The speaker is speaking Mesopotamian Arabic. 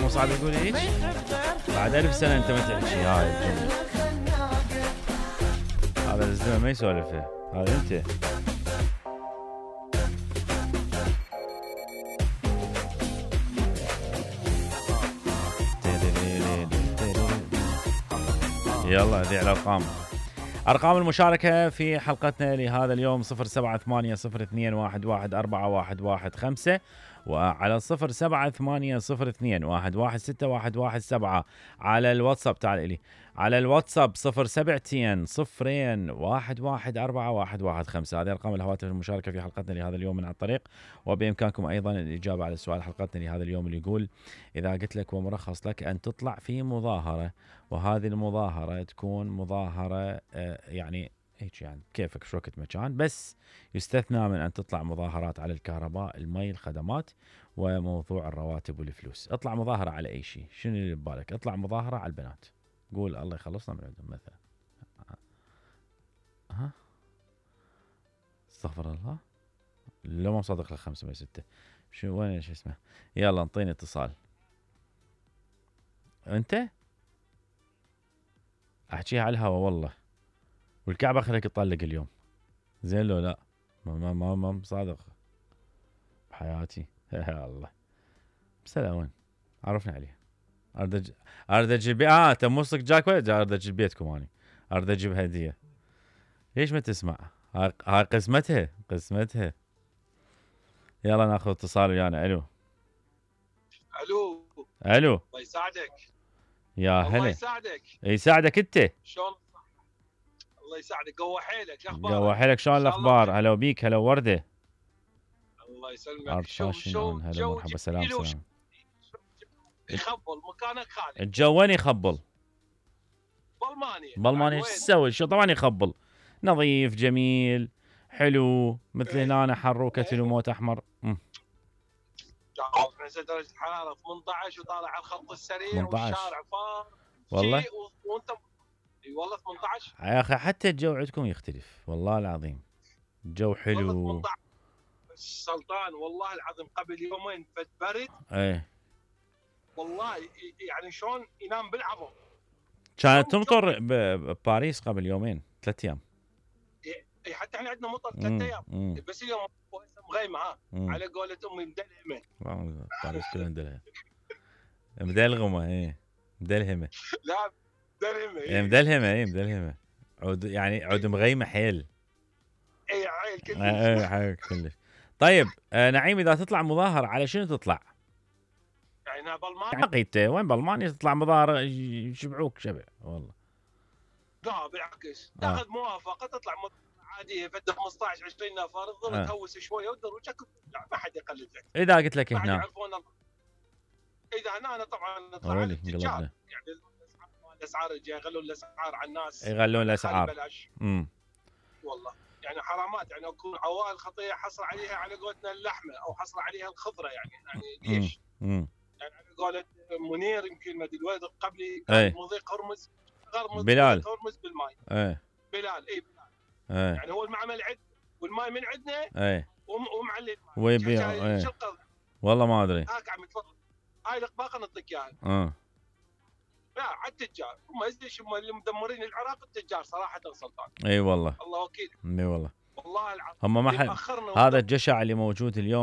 مو صعب يقول هيك؟ بعد 1000 سنة انت ما تحكي هاي الجملة. هذا الزلمة ما يسولفها، هذا انت. يلا هذه على أرقام المشاركة في حلقتنا لهذا اليوم 078002114115 وعلى 078002116117 على الواتساب. تعال إلي على الواتساب 0720011415. هذه أرقام الهواتف المشاركة في حلقتنا لهذا اليوم من على الطريق. وبإمكانكم أيضا الإجابة على سؤال حلقتنا لهذا اليوم اللي يقول: إذا قلت لك ومرخص لك أن تطلع في مظاهرة، وهذه المظاهرة تكون مظاهرة يعني هيك يعني كيفك شو وقت مكان، بس يستثنى من أن تطلع مظاهرات على الكهرباء، المي، الخدمات، وموضوع الرواتب والفلوس. اطلع مظاهرة على أي شيء، شنو اللي ببالك؟ اطلع مظاهرة على البنات، قول الله يخلصنا من عندهم مثلا. ها استغفر الله، لو ما مصدق لك 5 من 6. شو وين شو اسمه؟ يلا انطيني اتصال. انت احكيها على الهوا والله، والكعبة خليك تطلق اليوم. زين لو لا؟ ما مصادق بحياتي. يا الله بسلام. وين عرفنا عليه؟ ارد اجيب تموسك جاك ولا ارد اجيب بيتكم؟ اني ارد اجيب هديه. ليش ما تسمع؟ هاي قسمتها. يلا ناخذ اتصال ويانا. الو الله يساعدك. يا هلا. الله يساعدك. يساعدك انت. شلون؟ الله يساعدك. قوى حيلك. شو اخبارك؟ قوى حيلك. شلون الاخبار؟ هلا بيك. هلا ورده. الله يسلمك. شو هلا مرحبا. سلام. يخبل مكانك خالي. الجو وين يخبل؟ بالمانيا. ايش تسوي؟ شو طبعا يخبل. نظيف جميل حلو مثل هنا حر وكتل وموت احمر. نزل درجة الحرارة 18 وطالع على الخط السريع والشارع فار. والله وانت والله 18 يا اخي. حتى الجو عندكم يختلف والله العظيم. الجو حلو. سلطان والله العظيم قبل يومين فد برد. ايه والله يعني شلون ينام بالعظم. كانت تمطر بباريس قبل يومين 3 ايام. اي حتى احنا عندنا مطر 3 ايام. بس اليوم مغيمه على قولة امي مدلهمه. باريس كلها مدلهمه. مدلغمه. ايه مدلهمه. لا مدلهمه. ايه مدلهمه. عود يعني عود مغيمه حيل. اي عيل كلش. اي كلش. طيب نعيم، اذا تطلع مظاهره على شنو تطلع؟ يعني بالمانيا عقيدته وين بالمانيا تطلع مظاهره يشبعوك شبع والله. لا بالعكس تاخذ موافقه تطلع عاديه فد 15 20 نفر تظل تهوس شويه ودروجك ما حد يقلد لك. اذا قلت لك هنا اذا انا طبعا طلع التجار يعني الاسعار يغلون الاسعار على الناس. يغلون الاسعار بلاش. والله يعني حرامات يعني اكون عوائل خطيه حصل عليها على قولتنا اللحمه او حصل عليها الخضره يعني ليش؟ يعني على قولة منير يمكن ما ادري الولد قبلي كان مضيق هرمز بلال هرمز بالماء. بلال بلال. يعني هو المعمل عندنا والماء من عندنا. ومعلي ويبيع. والله ما ادري. عم يتفضل هاي الاقباقه نعطيك اياها. لا على التجار هم اللي مدمرين العراق التجار صراحه سلطان. اي والله. الله وكيل. اي والله. والله العظيم هم ما هذا الجشع اللي موجود اليوم